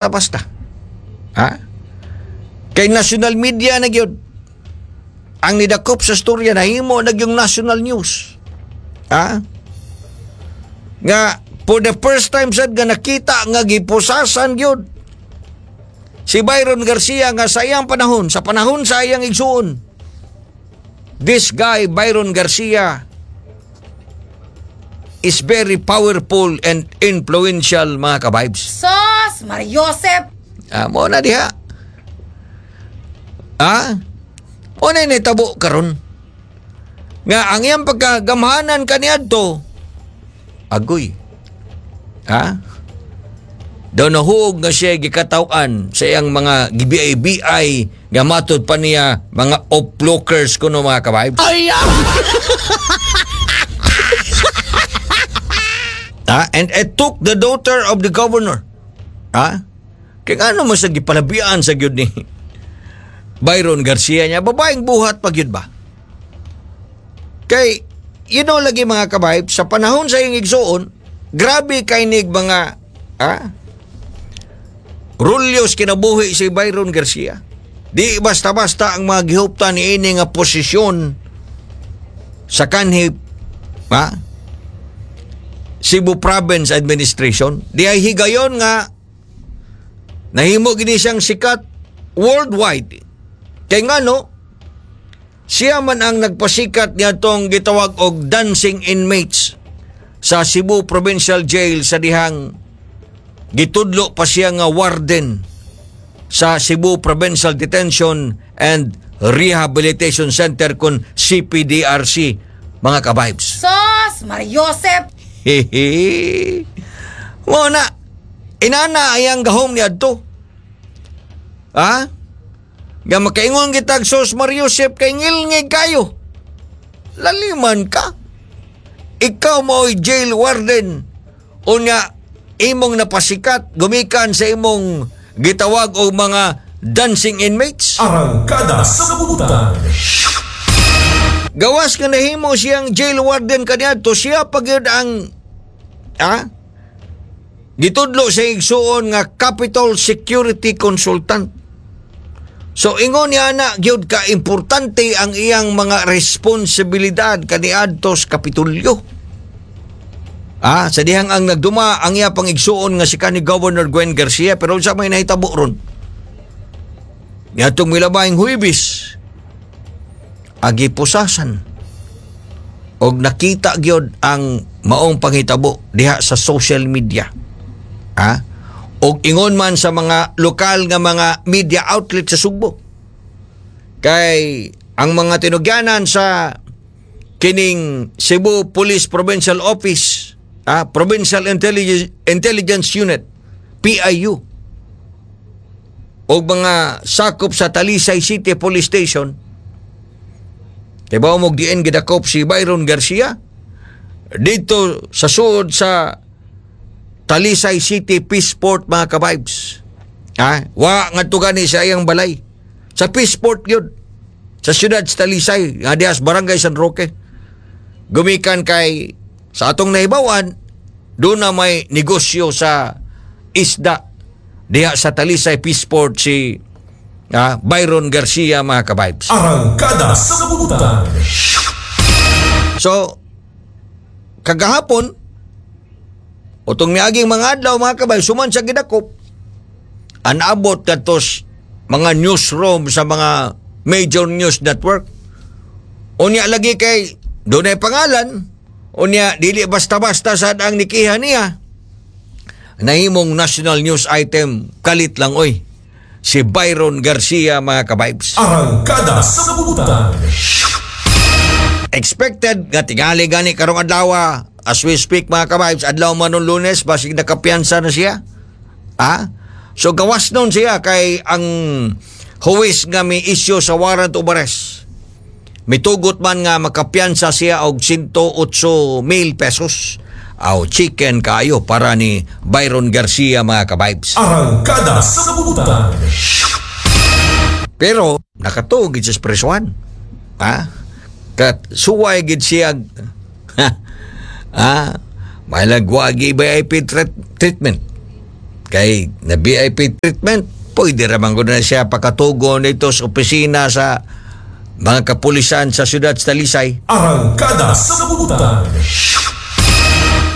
Basta-basta. Ha? Kay national media na gyud ang nidakop sa storya, nahimo na yung national news. Ha? Nga for the first time sad nga nakita nga gipusasan gyud si Byron Garcia, nga sa iyang panahon, sa panahon sa iyang igsuon. This guy Byron Garcia is very powerful and influential, mga ka-vibes. Sos, Mariosep! Ah, mo na diha. Ah? Mo na nitabo karon. Nga ang iyang pagkagamhanan kaniadto, agoy. Ha? Daw nahuog nga siya gikataw-an sa iyang mga gi-BI nga matod pa niya mga oplokers kuno, mga ka-vibes. Ay! Ha? And it took the daughter of the governor. Ha? Kaya ano mo sa gipalabian sa gyud ni Byron Garcia niya, babaeng buhat pa gyud ba? Kay, lagi, mga ka-vibe, sa panahon sa iyang igsuon, grabe kay nig mga, ha? Rulyos kinabuhi si Byron Garcia. Di basta-basta ang mga gihuptan ni ini nga posisyon sa kanhi, ha? Cebu Province Administration. Di ay higayon nga nahimo gini siyang sikat worldwide. Kay ngano, siya man ang nagpasikat niadtong gitawag og dancing inmates sa Cebu Provincial Jail sa dihang gitudlo pa siya nga warden sa Cebu Provincial Detention and Rehabilitation Center kon CPDRC, mga ka-vibes. Sos, Mariosep! Hehe. Mo na inana ayang gahom ni adto. Ha? Nga makaingon kitag sos Mariosep kay ngilngig kayo. Laliman ka. Ikaw mo'y jail warden. Unya imong napasikat gumikan sa imong gitawag og mga dancing inmates. Arangkada sa Kabutan. Gawas nga nahimo siyang jail warden kaniadto, siya pa gyud ang gitudlo sa igsuon nga Capitol Security Consultant. So ingon niya na gyud ka importante ang iyang mga responsibilidad kaniadto sa Kapitolyo. Sa dihang ang nagduma ang iya pang igsuon nga si kanhi Governor Gwen Garcia, pero unsa may nahitabo ron? Niadtong milabayng Huwebes, agi pusasan og nakita gyud ang maong panghitabo diha sa social media. Ha? Og ingon man sa mga lokal nga mga media outlet sa Sugbo. Kay ang mga tinugyanan sa kining Cebu Police Provincial Office, Provincial Intelligence Unit, PIU, og mga sakop sa Talisay City Police Station. Kay ba mo diin gidakop si Byron Garcia? Dito sa suod sa Talisay City Peaceport, mga ka-vibes. Ha? Wa ngadto gani sa iyang balay. Sa Peaceport yun. Sa siyudad sa Talisay, nga diha sa Barangay San Roque. Gumikan kay sa atong nahibawan, doon na may negosyo sa isda diha sa Talisay Peaceport si Byron Garcia, mga ka-vibes. Arangkada sa Kabutan. So, kagahapon, utong miaging mga adlaw, mga ka-vibes, suman sa gidakop, anabot katos mga newsroom sa mga major news network. Unya lagi kay dunay pangalan, unya dili basta-basta sad ang nikiha niya. Nahimong national news item kalit lang oy. Si Byron Garcia, mga ka-vibes. Arangkada sa Kabutan. Expected nga tingali gani karong adlaw, as we speak, mga ka-vibes, adlaw man nung Lunes, basig nakapiyansa na siya. So gawas nun siya kay ang huwes nga may issue sa warrant of arrest mitugot man nga makapiyansa siya og 108 mil pesos. Aw, chicken kayo para ni Byron Garcia, mga ka-vibes. Arangkada sa Kabutan. Pero nakatuog gid siya sa presuan. Ha? Kat suway gid siya, ha? Malagwagi VIP treatment. Kay na VIP treatment, pwede raman ko na siya pakatugon dito sa opisina sa mga kapulisan sa siyudad sa Talisay. Arangkada sa Butan.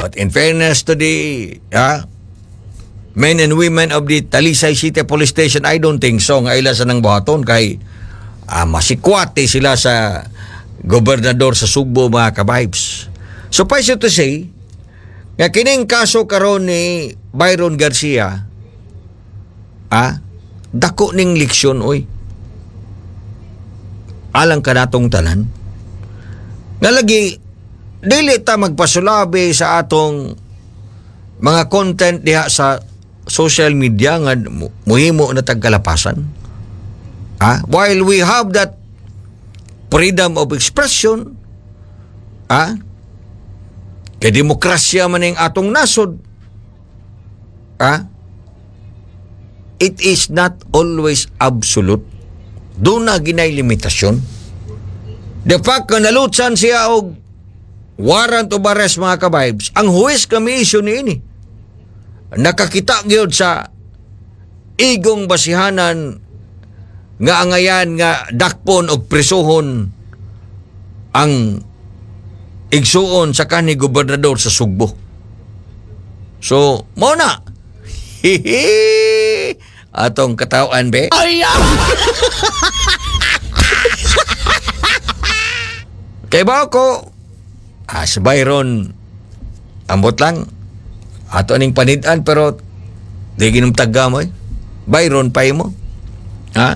But in fairness to the men and women of the Talisay City Police Station, I don't think so nga ila sa nang buhaton kay masikwate sila sa gobernador sa Sugbo, mga kabibes. Suffice it to say, nga kining kaso karon ni Byron Garcia, dako ning leksyon oy. Alang kanatong tanan. Nga lagi dili ta magpasulabi sa atong mga content diha sa social media nga muhimo na tagkalapasan. While we have that freedom of expression, kay demokrasya man ning atong nasod, it is not always absolute. Duna ginay limitasyon. The fact nga nalutsan siya og warrant of arrest, mga kabibes, ang huwes kami issue ni ini. Nakakita gyud sa igong basihanan nga angayan nga dakpon og prisuhon ang igsuon sa kanhi gobernador sa Sugbo. So, mao na. Hihi! Atong katawan be. Ay! Kay ba ko si Byron, ambot lang ato aning panidan, pero di ginom tagga mo eh. Byron pa mo. Ha?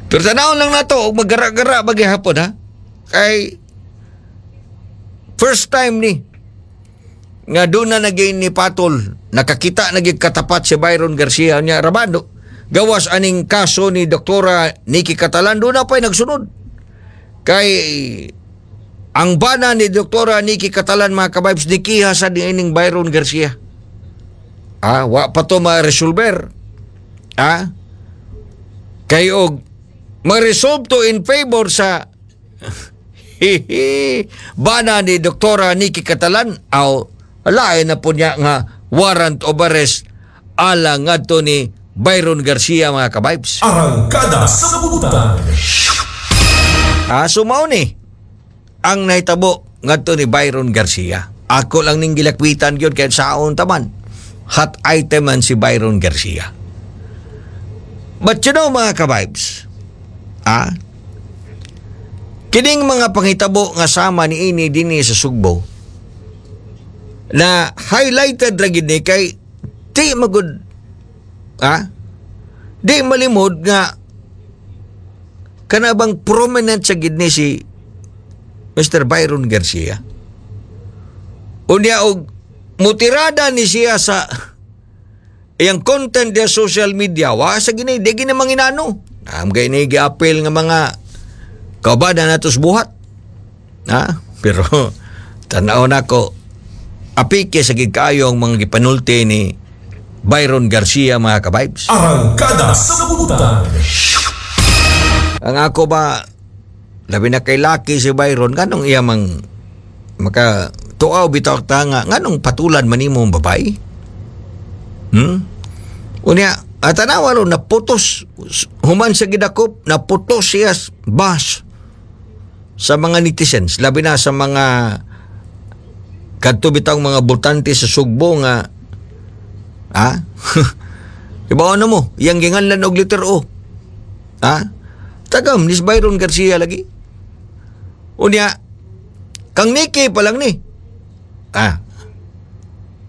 Pero tanawon lang nato og magara-gara bagihapon ha. Kay first time ni nga doon na naging ni Patol, nakakita na gyud katapat si Byron Garcia niya Rabando gawas aning kaso ni Doktora Nikki Catalan, doon na pa'y nagsunod kay ang bana ni Doktora Nikki Catalan, mga kabibes, nikiha sa niining Byron Garcia. Wa pa to ma-resolver. Kay og ma-resolve to in favor sa bana ni Doktora Nikki Catalan, aw lain na po niya nga warrant of arrest ala ngadto ni Byron Garcia, mga kabibes. Arangkada sa Butan. So mao ni ang nahitabo ngadto ni Byron Garcia. Ako lang ning gilakwitan gyud kay saon taman. Hot item man si Byron Garcia. But you know, mga kabibes, kining mga panghitabo nga sama ni ini dinhi sa Sugbo na highlighted ra gid ni kay di magud di malimod nga kana bang prominent sa gid ni si Mr. Byron Garcia. Unya og mutirada ni siya sa iyang content sa social media, wa sa gini di gini manginano. Am gay ni giapil nga mga kaubana natos buhat. Ha? Pero tan-aw nako, apike sa gid kaayo ang mga gipanulti ni Byron Garcia, mga kabibes. Arangkada sa Butan. Ang ako ba, labi na kay laki si Byron, nganong iya mang maka tuaw bitaw ta nga nganong patulan man nimo ang babae? Unya, at tanawa ron, naputos, human sa gidakop, naputos siya bas sa mga netizens, labi na sa mga kadto bitang mga botante sa Sugbo nga ha? Iba ano mo, yang ginganlan og letter O. Ha? Tagam ni Byron Garcia lagi. Unya, kang Nikki pa lang ni.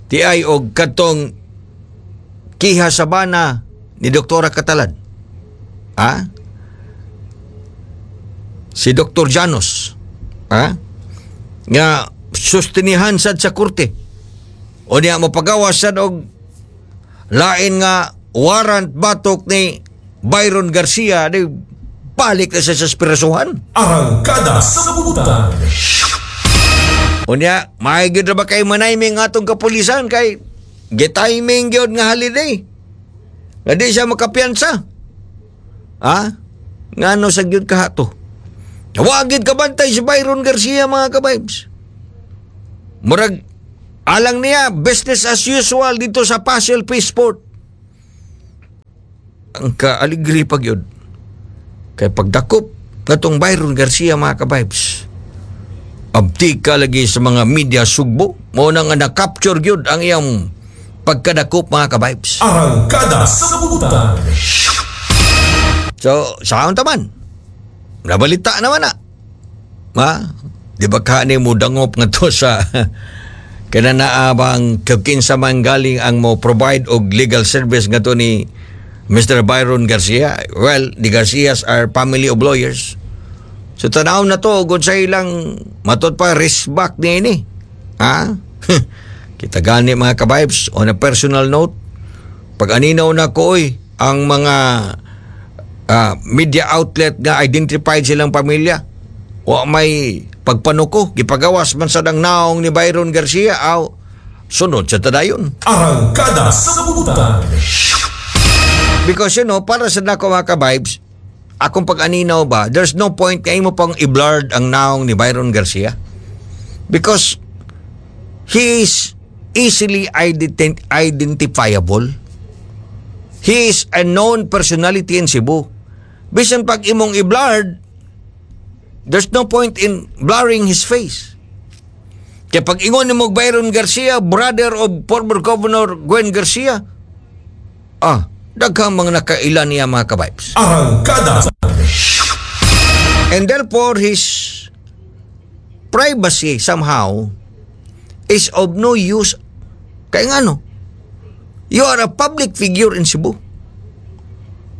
Ti ay og katong kiha sa bana ni Doktora Catalan. Si Dr. Janos. Nga sustinihan sad sa korte. O niya mapagawas sad og lain nga warrant batok ni Byron Garcia, di balik na siya sa spirasuhan. Arangkada sa Butan. Unya, maigid ra ba kay manayming atong kapulisan kay gitiming gyud nga holiday? Nga di siya makapiyansa. Ha? Ngano sa gyud kahato? Wa gyud kabantay si Byron Garcia, mga kabibes. Murag Alang niya, business as usual dito sa Pasil Peaceport. Ang kaaligri pag yun. Kay pagdakop katong Byron Garcia, mga ka-vibes. Abti ka lagi sa mga media Sugbo. Mao na nga na-capture yun ang iyang pagkadakop, mga ka-vibes. Arangkada sa Butan. So, saan taman? Nabalita naman na. Ma? Di ba ka ni mo dangop nga to sa kana naa bang kinsa man galing ang mo provide og legal service nga to ni Mr. Byron Garcia? Well, the Garcias are family of lawyers. So tanaw na to ugod sa ilang matod pa risk back ni ini. Ha? Kita gani, mga ka-vibes, on a personal note, pag aninaw na ko oy, ang mga media outlet nga identified silang pamilya, wa may pagpanuko, gipagawas man sa dang naong ni Byron Garcia, aw sunod sa tadayon. Arangkada sa Butan. Because para sa nako, mga ka-vibes, akong pag-aninaw ba, there's no point kay mo pang i-blurred ang naong ni Byron Garcia. Because he is easily identifiable. He is a known personality in Cebu. Bisan pag imong i-blurred, there's no point in blurring his face. Kaya pag ingon ni mo Byron Garcia, brother of former Governor Gwen Garcia, daghang mga nakaila niya, mga ka-vibes. Arangkada. And therefore, his privacy somehow is of no use. Kaya nga no, you are a public figure in Cebu.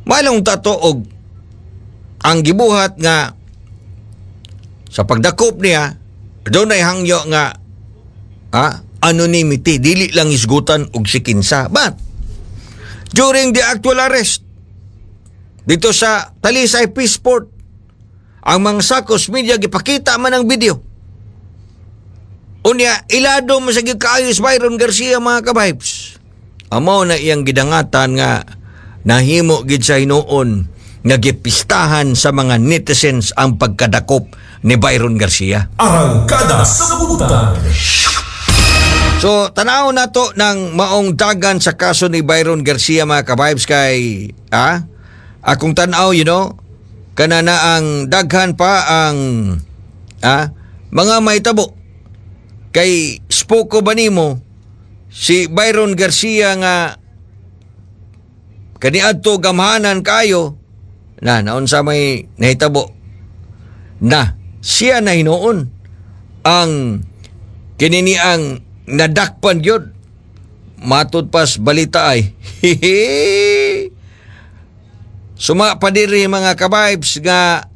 Malong tato og ang gibuhat nga sa pagdakop niya, doon ay hangyo nga anonymity, dili lang isgutan og sikinsa. But during the actual arrest, dito sa Talisay Peaceport, ang mga Sakos Media gipakita man ang video. Unya, ilado mo sa gikaayo si Byron Garcia, mga ka-vibes. Amo na iyang gidangatan nga nahimo gid sa hinuon nga gipistahan sa mga netizens ang pagkadakop ni Byron Garcia. Arangkada sa Butan. So, tanaw na to ng maong dagan sa kaso ni Byron Garcia, mga ka-vibes, kay akong tanaw, kana na ang daghan pa ang mga mahitabo. Kay spoko ba nimo si Byron Garcia nga kaniadto gamhanan kayo na naunsa may nahitabo na siya na hinuon ang kinini ang nadakpan gyud matud pas balita ay suma pa diri, mga ka-vibes, nga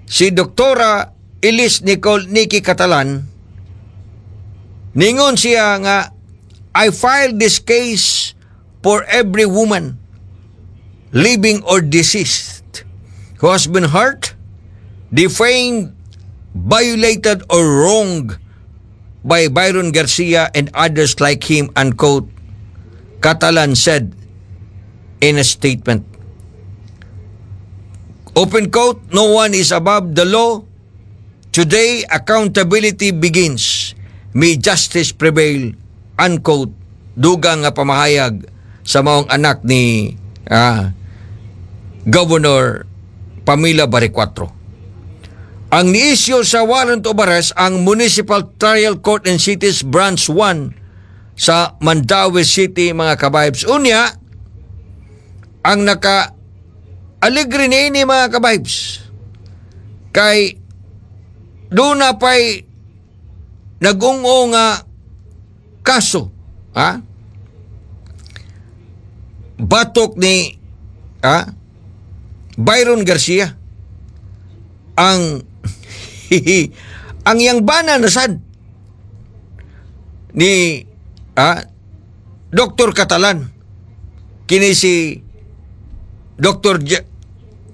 si Doktora Elise Nicole Nikki Catalan, ningon siya nga, "I filed this case for every woman, living or deceased, who has been hurt, defamed, violated or wronged by Byron Garcia and others like him," unquote, Catalan said in a statement. Open quote, "No one is above the law. Today, accountability begins. May justice prevail," unquote. Dugang nga pamahayag sa maong anak ni Governor Pamela Baricuatro. Ang ni-issue sa warrant of arrest ang Municipal Trial Court and Cities Branch 1 sa Mandaue City, mga ka-vibes. Unya, ang naka aligre ni mga ka-vibes, kay doon na pa'y nagungo nga kaso, ha, batok ni Byron Garcia, ang yang bana na sad ni Dr. Catalan, kini si Dr.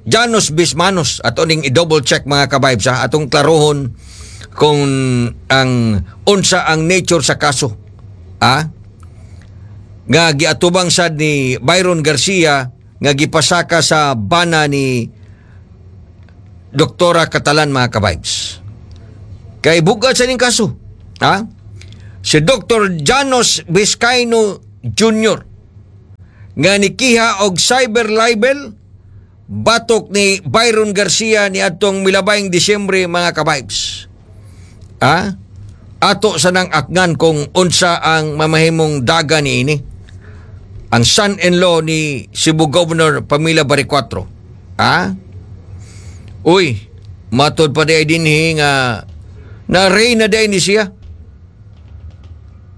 Janos Bismanos. Ato ning i-double check, mga ka-vibes, ha, atong klarohon kung ang unsa ang nature sa kaso nga giatubang sad ni Byron Garcia nga gipasaka sa bana ni Doktora Catalan, mga ka-vibes. Kay bugat sa ning kaso. Ha? Si Dr. Janos Vizcaino Jr. nga nikiha og cyber libel batok ni Byron Garcia ni atong milabayng Disyembre, mga ka-vibes. Ha? Ato sa nang akngan kung unsa ang mamahimong daga ni ini. Ang son-in-law ni Cebu Governor Pamela Baricuatro. Ha? Uy, matod pa diay dinhi nga na-arraign na diay ni siya.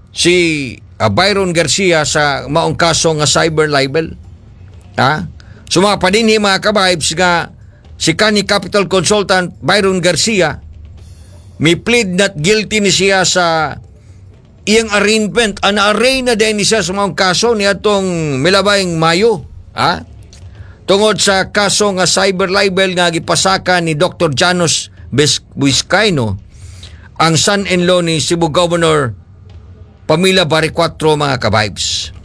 Si Byron Garcia sa maong kaso nga cyber libel. Ha? So mga padinhi, mga ka-vibes, nga si kanhi capital consultant Byron Garcia mi plead not guilty ni siya sa iyang arraignment. Ang arraign na din ni siya sa maong kaso ni atong milabayng Mayo. Ha? Tungod sa kaso nga cyber libel nga gipasaka ni Dr. Janos Vizcaino, ang son-in-law ni Cebu Governor Pamela Baricuatro, mga ka-vibes.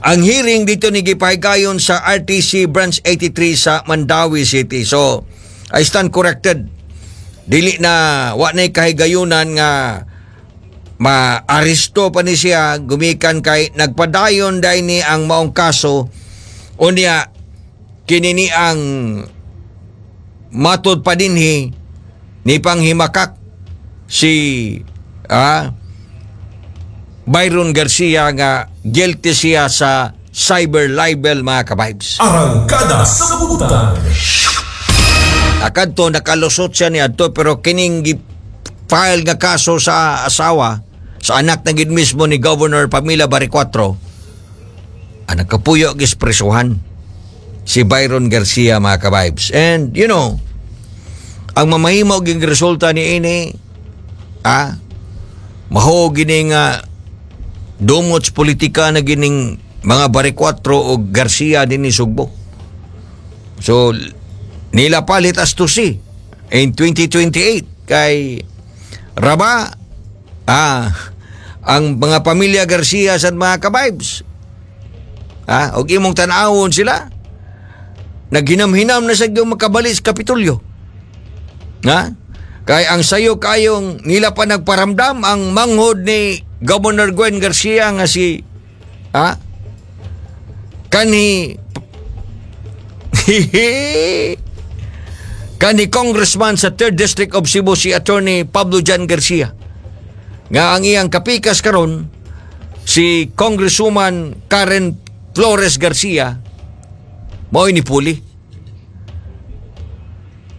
Ang hearing dito ni gipahigayon sa RTC Branch 83 sa Mandaue City. So, I stand corrected. Dili na, wa na kahigayunan nga maaresto pa ni siya gumikan kay nagpadayon dahil ni ang maong kaso. Unya kini ni ang matod pa dinhi ni panghimakak si Byron Garcia nga guilty siya sa cyber libel, mga ka-vibes. Arangkada sa Butan. Akadto nakalusot siya ni adto, pero kining file nga kaso sa asawa, sa anak na gid mismo ni Governor Pamela Baricuatro, ang nagkapuyo gis presuhan si Byron Garcia, mga ka-vibes. And ang mamahimo ging resulta ni ini, maho gini nga dumot sa politika na gining mga Baricuatro o Garcia din ni Sugbo. So nila palit as to see in 2028 kay raba ang mga pamilya Garcia sa mga ka-vibes. Og imong tan-awon sila, naghinam-hinam na sa yung makabalik sa Kapitolyo. Ha? Kay ang sayo kayong nila pa nagparamdam ang manghod ni Governor Gwen Garcia nga si kanhi kanhi congressman sa 3rd District of Cebu, si Attorney Pablo John Garcia, nga ang iyang kapikas karon si Congresswoman Karen Flores Garcia, mao'y ni puli.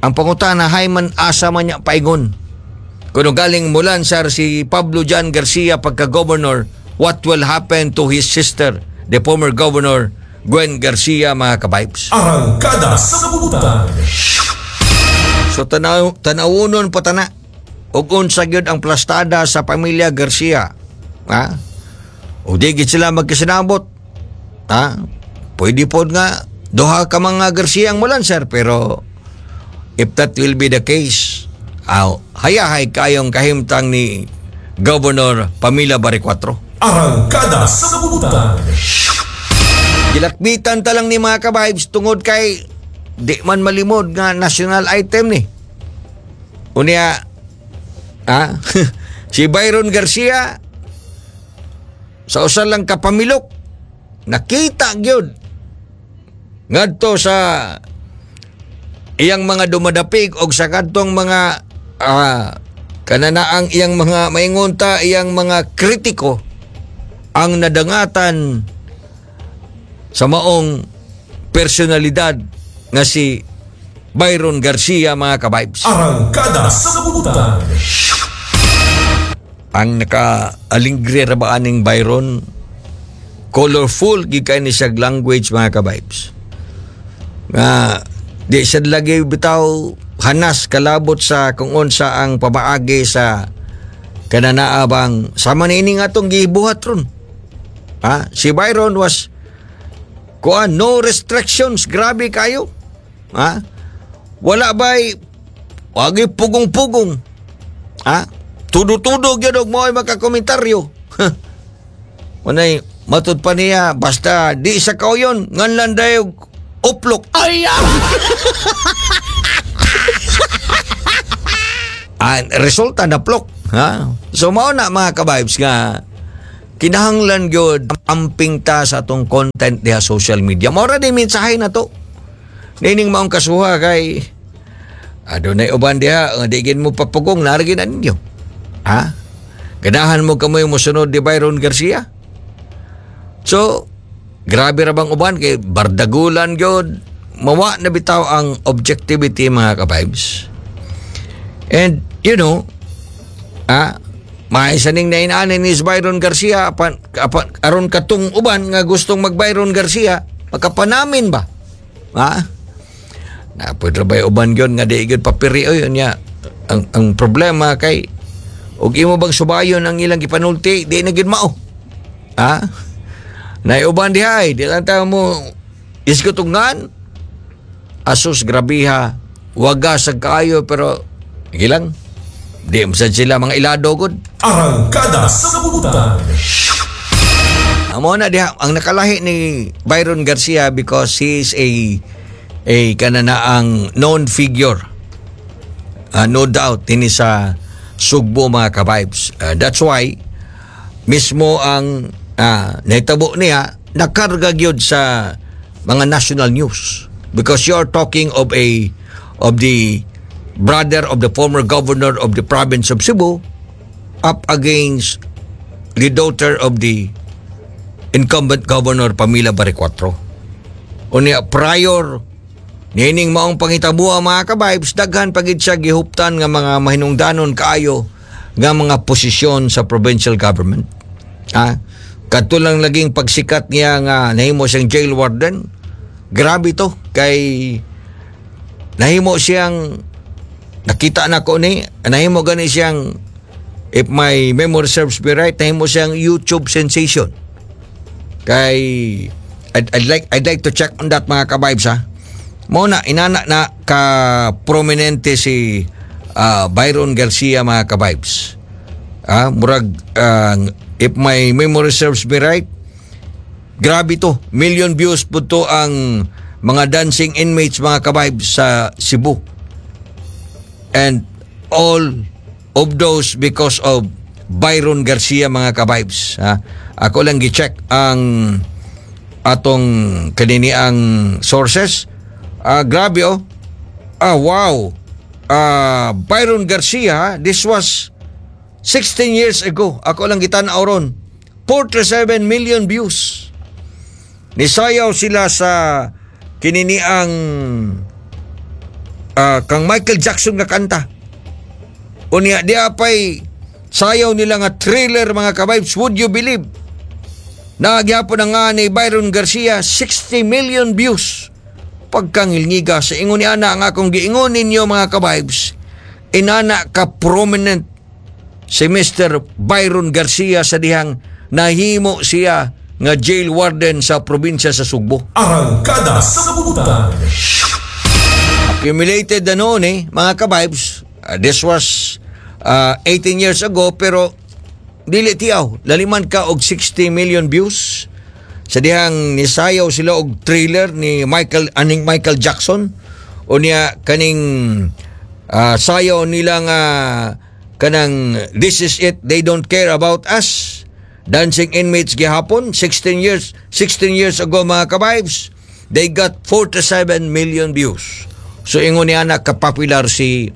Ang pangutana, hay man asa man niya paingon? Kuno galing mulansar si Pablo John Garcia pagka-governor, what will happen to his sister, the former governor Gwen Garcia, mga ka-vibes? Arangkada sa Butan. So tanaw tanawunon pa tana ug unsa gyud ang plastada sa pamilya Garcia. Ha? O di gid sila magkasinabot. Ha? Pwede pod nga duha ka mga Garcia ang mulansar, pero if that will be the case, aw, hayahay kayong kahimtang ni Governor Pamela Baricuatro. Arangkada sa Butan. Gilakbitan ta lang ni, mga ka-vibes, tungod kay di man malimod nga national item ni. Unya si Byron Garcia sa usa lang kapamilok nakita gyud ngadto sa iyang mga dumadapig og sa kadtong mga kananaang iyang mga maingon ta iyang mga kritiko ang nadangatan sa maong personalidad nga si Byron Garcia, mga ka-vibes. Arangkada sa Butan. Ang naka-alingre ra ba aning Byron, colorful gid kay ni siyag language, mga ka-vibes. Nga di siya lagi bitaw hanas kalabot sa kung unsa ang pamaagi sa kananaabang sama niini nga atong gibuhat ron. Ha? Si Byron was kuan, no restrictions, grabe kayo. Ha? Wala ba'y wagi pugong-pugong. Ha? Tudo-tudo gyud og mo'y makakomentaryo. Manay matud pa niya, basta di sa kauyon nganlan dayo uplok. Ay! Ang resulta, naplok. Ha? So mao na, mga ka-vibes, nga kinahanglan gyud amping ta sa atong content diha social media. Mao ra ni mensahe na to. Nining maong kasuha kay adunay uban diha nga di gid mo papugong naa ra na ninyo. Ha? Ganahan mo kamoy mosunod ni Byron Garcia? So, grabe ra bang uban kay bardagulan gyud, mawa na bitaw ang objectivity, mga ka-vibes. And maisa ning nainaanin ni Byron Garcia apan, aron katong uban nga gustong mag Byron Garcia, makapanamin ba? Ha? Na pwede ba yung uban yun nga di gyud papiri oy niya? Ang problema kay og imo bang subayon ang ilang gipanulti, di na gyud mao. Ha? Naiuban diha ay, di lang tayo mo isgutungan. Asus, grabiha. Waga sa kaayo, pero gilang. Di mo sad sila mga ilado gud. Arangkada sa Butan. Amo na diha ang nakalahi ni Byron Garcia because he is a kanana ang known figure. No doubt dinhi sa Sugbo, mga ka-vibes. That's why mismo ang nahitabo niya nakarga gyud sa mga national news because you're talking of the brother of the former governor of the province of Cebu up against the daughter of the incumbent governor Pamela Baricuatro. Unya prior niining maong panghitabua, mga ka-vibes, daghan pagid siya gihuptan nga mga mahinungdanon kaayo nga mga posisyon sa provincial government. Ah, kadto lang laging pagsikat niya nga nahimo siyang jail warden. Grabe to kay nahimo siyang, nakita na ko ni, nahimo gani siyang, if my memory serves me right, nahimo siyang YouTube sensation. Kay I'd like to check on that, mga ka-vibes, ha. Mo na inana na ka prominente si Byron Garcia, mga ka-vibes. Ah, murag if my memory serves me right, grabe to. Million views po to ang mga dancing inmates, mga ka-vibes, sa Cebu. And all of those because of Byron Garcia, mga ka-vibes. Ha? Ako lang gi-check ang atong kanini ang sources. Ah, grabe oh. Ah, wow. Ah, Byron Garcia, this was 16 years ago. Ako lang gitan-aw ron. 47 million views. Nisayaw sila sa kininiang kang Michael Jackson nga kanta. Unya di apay sayaw nila nga Thriller, mga ka-vibes. Would you believe? Nagyapon na nga ni Byron Garcia, 60 million views. Pagkangilngiga sa ingon ni ana ang akong giingon ninyo, mga ka-vibes. Inana ka prominent si Mr. Byron Garcia sa dihang nahimo siya nga jail warden sa probinsya sa Sugbo. Arangkada sa Butan. Accumulated na noon eh, mga ka-vibes. This was 18 years ago, pero dili tiaw. Laliman ka og 60 million views. Sa dihang nisayaw sila og Thriller ni Michael aning Michael Jackson o niya kaning sayaw nila nga kanang "This Is It, They Don't Care About Us". Dancing inmates gihapon 16 years 16 years ago, mga ka-vibes, they got 47 million views. So ingon niya na kapopular si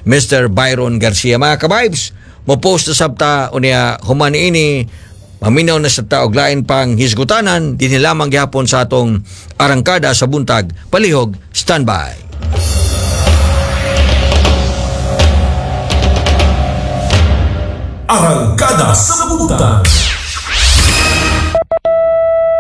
Mr. Byron Garcia, mga ka-vibes. Mo post na sabta unya human ini maminaw na sa og lain pang hisgutanan dinhi lamang gihapon sa atong Arangkada sa Buntag. Palihog standby. Arangkada sa Butan.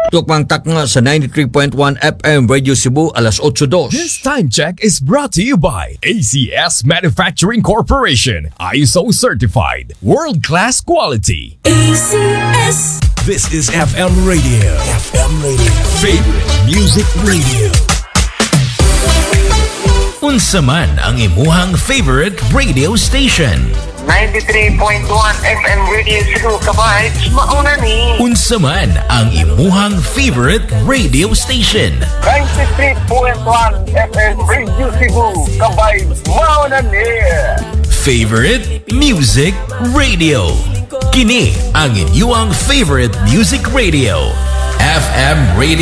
Tukmang takna sa 93.1 FM Radio Cebu, alas 8:02. This time check is brought to you by ACS Manufacturing Corporation, ISO certified, world-class quality. ACS. This is FM Radio. FM Radio. Favorite Music Radio. Unsa man ang imuhang favorite radio station. 93.1 FM Radio Cebu, ka-vibes, mauna ni. Unsa man ang imuhang favorite radio station. 93.1 FM Radio Cebu, ka-vibes, mauna ni. Favorite Music Radio. Kini ang inyong favorite music radio. FM Radio.